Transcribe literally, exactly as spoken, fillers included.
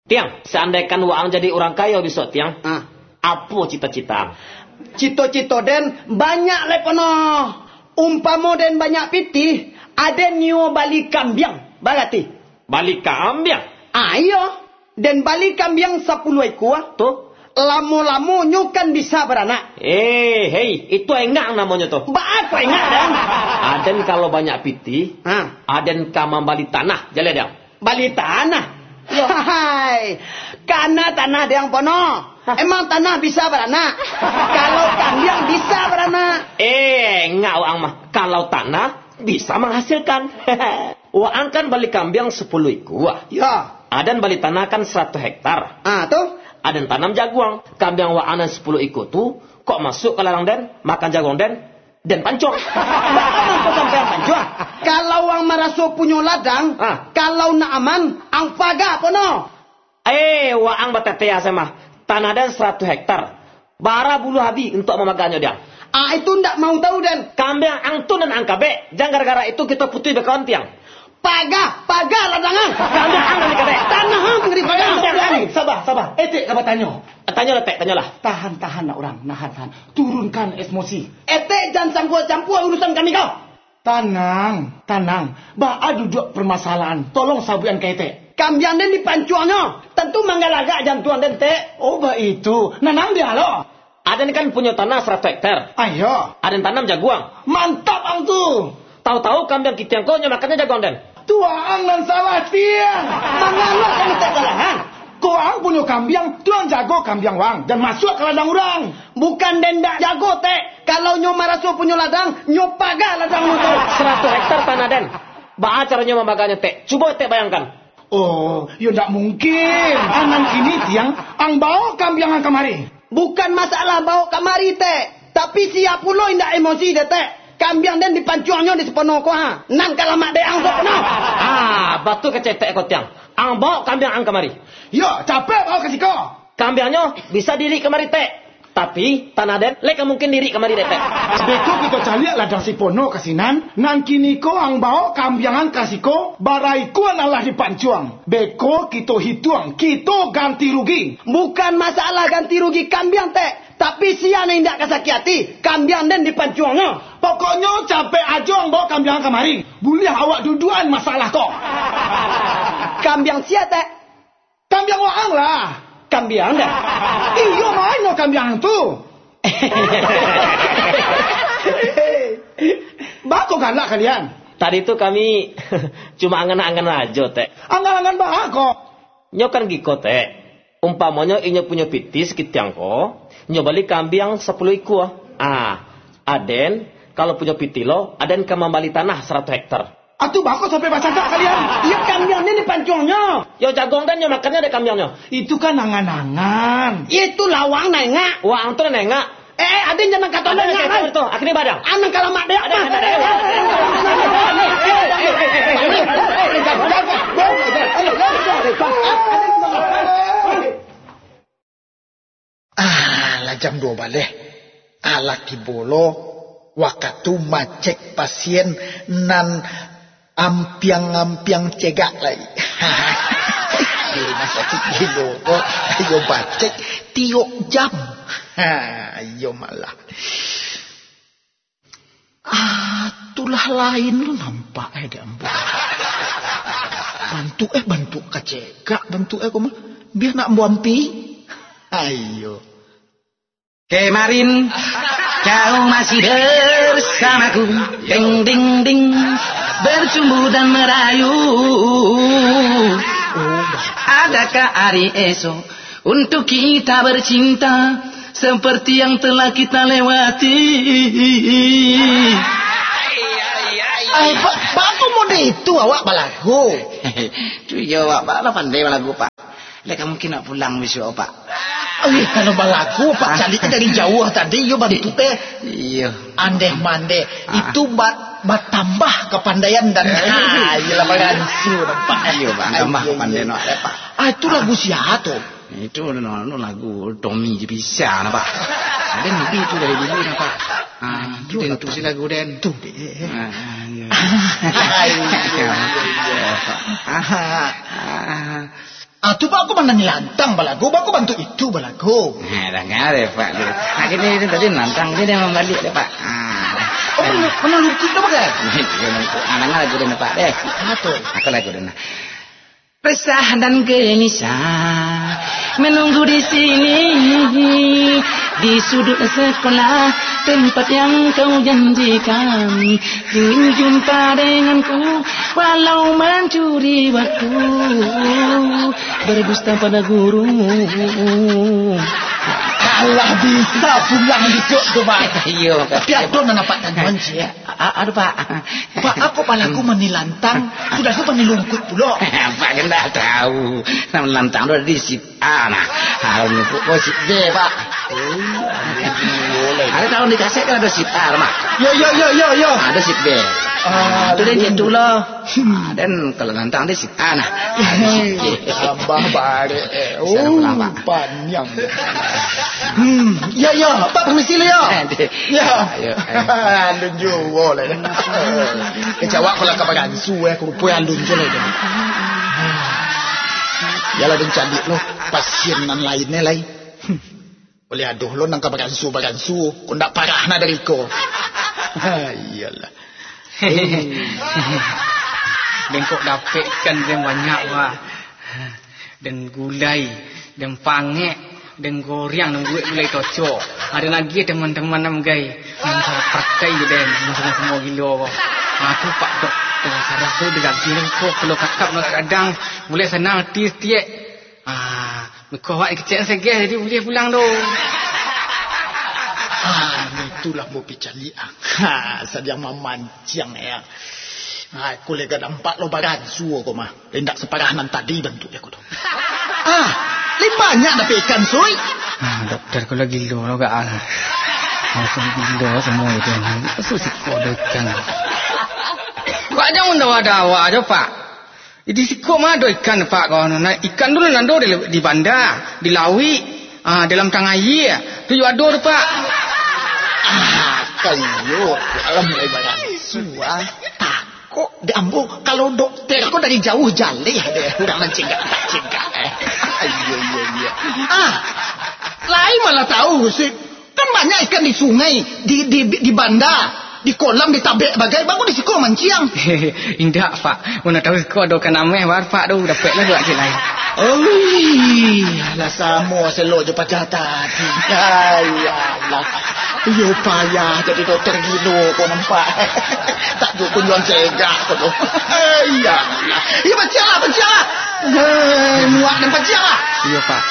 Tiang, seandaikan waang jadi urang kayo bisuak, Tiang, Ah. apo cita-cita ang? Cito-cito den banyak lai pono. Umpamo den banyak pitih, aden nio bali kambiang, barati? Bali kambiang? Ah, iyo. Den bali kambiang sapuluah ikua. Tu? Lamo-lamo nyo kan bisa baranak. Eh, hei, itu engak namonyo tu. Baa kok engak, Dang? Aden kalau banyak pitih, Ha. aden ka mambali tanah, jaleh, Dang. Bali tanah? Yo. Hai, kana tanah Dang pono. Hah? Emang tanah bisa baranak? Kalau kambiang bisa baranak. Eh, engak waang mah. Kalau tanah bisa menghasilkan. Waang kan bali kambiang sapuluah ikua. Yo. Aden bali tanah kan saratuih hektar. Ah, tu? Aden tanam jaguang. Kambiang waang nan sapuluah ikua tu, kok masuak ka ladang den, makan jaguang den, den pancuang. Baa mangko sampai ang pancuang? Kalau ang maraso punyo ladang, Ah. kalau nak aman, ang paga pono. Eh, waang batetea se mah. Tanah den saratuih hektar. Bara buluah abi untuak mamaganyo, Dang. Ah, itu ndak mau tahu, den. Kambiang ang tu nan ang kabek. Jan gara-gara itu kito putuih bakawan, Tiang. Paga, paga ladang ang. Kambiang ang nan dikabek. Tanah ang nan dipaga. Dang, Dang, Dang, sabar, sabar. Etek ka batanyo. Tanyolah, Tek, tanyolah. Tahan, tahan, nak urang. Nahan, tahan. Turunkan emosi. Etek jan campua-campua urusan kami ko. Tanang, tanang. Baa duduak permasalahan? Tolong sabuikan ka etek. Kambiang den dipancuangnyo. Tantu manggalagak jantuang den, Tek. Oh, baitu. Nanang dia lo. Aden kan punyo tanah saratuih hektar. Ayo. Aden tanam jaguang. Mantap ang tu. Tahu-tahu kambiang kitiang ko nyo makannyo jaguang den. Tu ang nan salah, Tiang. Mangalo kami tak salah, ha? Ko ang punyo kambiang, tu ang jago kambiang wang, jan masuak ka ladang urang. Bukan den dak jago, Tek. Kalau nyo maraso punyo ladang, nyo paga ladang nyo tu. Saratuih hektar tanah den. Baa caronyo mamaganyo, Tek? Cubo Tek bayangkan. Oh, yo ndak mungkin. Anan kini, Tiang, ang baok kambiang ang kamari. Bukan masalah baok kamari, Tek. Tapi sia pulo indak emosi dek, Tek. Kambiang den dipancuangnyo di Sipono ko, ha. Nan ka lamak dek ang tu, no. Ah, batua kecek Tek ko, Tiang. Ang baok kambiang ang kamari. Yo, capek baok ka siko. Kambiangnyo bisa diirik kamari, Tek. Tapi, tanah den, lai ka mungkin diirik kamari dek, Tek. Beko kito caliak ladang Sipono ka sinan, nan kini ko ang baok kambiang ang ka siko, bara ikua nan lah dipancuang. Beko kito hituang, kito ganti rugi. Bukan masalah ganti rugi kambiang, Tek. Tapi sia nan indak ka sakik ati, kambiang den dipancuangnyo. Pokoknyo capek ajo ang baok kambiang ang kamari. Buliah awak duduakan masalah ko. Kambiang sia, Tek? Kambiang waang lah. Kambiang den? Iyo, ma nyo kambiang tu. Baa kok galak kalian? Tadi tu kami cuma angan-angan ajo, Tek. Angan-angan baa kok? Nyo kan giko, Tek. Umpamonyo inyo punyo pitih sakitiang ko, nyo bali kambiang sapuluah ikua. Ah, aden, kalau punyo pitih lo, aden ka mambali tanah saratuih hektar. Atu baa kok sampai bacakak kalian? Iyo, kambiang ni dipancuangnyo. Yo, jaguang den nyo makannyo dek kambiangnyo. Itu kan angan-angan. Itu lah waang nan engak. Waang tu nan engak. Eh, eh, aden jan nan kato nan engak, tu. Akhirnyo badang. Anan kalamak dek. Aden, aden, aden. Ah, lah jam duo baleh. Alah tibo lo wakatu macek pasien nan ampiang-ampiang cegak lai. Di rumah sakik gilo ko, ayo bacek tiok jam. Ha, iyo malah. Ah, tulah lain lo nampak, eh, dek ambo. Bantuak, eh, bantuak kacegak, bantuak, eh, ko mah. Bia nak ambo ampi. Ayo. Kemarin kau masih bersamaku, ding, ding, ding, bercumbu dan merayu. Adakah hari esok untuk kita bercinta seperti yang telah kita lewati? Ai, Pak, Pak, kok model itu awak balagu? Tu iyo, Pak. Pak lah pandai balagu, Pak. Lah, ka mungkin nak pulang bisuak, Pak. Eh, kalau balagu, Pak, caliak dari jauah tadi, iyo bantuak, eh. Iyo. Andeh mandeh. Ah. Itu ba-, batambah kapandaian dan, ah, iyolah, baransu nampak. Iyo, Pak, tambah kapandaian awak, Pak. Ah, itu lagu sia tu? Itu, no, no, lagu Tommy Jepisan, Pak. Ada nabi tu dari dulu, nah, Pak. Ah, itu den tu si lagu den. Tu, dek. Ah, iyo. Ayo. Ah, ah. Ah, tu, Pak, aku mana nilantang balagu, Pak, aku bantu itu balagu. Nah, dah ngareh, Pak. Nah, gini, ini tadi nantang, dia dah mambalik dah, Pak. Ah. Oh, mana, mana lungkup dah, Pak, kan? Iya, lungkup. Ah, dengar lagu dia, Pak, deh. Apa tu? Aku lagu dia, nah. Resah dan gelisah menunggu di sini, di sudut sekolah, tempat yang kau janjikan. Ingin jumpa denganku, walau mencuri waktu, berdusta pada guru. Alah, bisa pulang dicok tu, Pak. Iyo. Tapi ado nan nampak tangan, cik. A-, aduh, Pak. Pak, aku palaku manilantang, sudah tu manilungkut pulo. Pak kan dah tahu. Nan lantang tu di sit A, nah. Kalau nyumpuk ko sit B, Pak. Oh, boleh. Ada tahu di kaset kan ada sit A, Mak? Yo, yo, yo, yo, yo. Ada sit B. Ah, tu dia, itu lah. Hmm. Ah, dan kalau nantang dia sit A, nah. Ada sit B. Tambah barek, eh. Bisa Oh, pulang, Pak. Panjang. Hmm, ya, ya. Pak, permisi lu, ya. Aduh. Ya. Ayo, ayo. Alun juo lah. Eh, jawab kalau ka baransu, eh, kurupoi alun juo lah itu. Yalah, den caliak lo pasien nan lainnyo lai. Hmm. Oleh aduh lo nan ka baransu-baransu, kok ndak parah na dari ko. Ha, iyolah. Bengkok dapek ikan den banyak, Pak. Den gulai, den pangek, den goreng, den buek gulai tocok. Ado lagi teman-teman nan gai, nan salah pakai den, nan samo-samo gilo ko. Ha, tu Pak Dokter, sarah tu daging ko, kalau kakap nak gadang, mulai sanang ati setiek. Ah, muko awak kecek segeh, jadi buliah pulang tu. Ah, itulah mau picaliak. Ha, sadiang mamanciang, ya. Ha, aku lega dampak lo baransu ko mah. Indak separah nan tadi bantuk aku tu. Ah, lai banyak dapek ikan, Sui. Ah, dokter ko lagi lo lo gak ah. Langsung gilo semua itu. Masuk siko ado ikan. Kok jangan dawa-dawa aja, Pak. Di siko mah ado ikan, Pak, kawan. Nah, ikan tu nan ado di, di banda, di lauik, ah, dalam tangah aia. Tu yo ado tu, Pak. Ah, kayo, alam mulai baransu, ah. Takok dek ambo, kalau dokter ko dari jauah jaleh deh, urang nan cegak-cegak, eh. Iyo, iyo, iyo. Ah, lai malah tahu, Sik. Kan banyak ikan di sungai, di, di, di banda, di kolam, di tabek bagai, baa kok di siko manciang. Indak, Pak. Mun tahu siko ado ikan ameh, bar, Pak, tu dapeklah duo kilo lain. Oi, lah samo selo jo paja tadi. Ai, alah. Iyo payah jadi dokter gilo ko nampak. Tak tu kunjuang cegak ko tu. Ai, alah. Iyo, pancianglah, pancianglah. Hei, muak dan pancianglah. Iyo, Pak.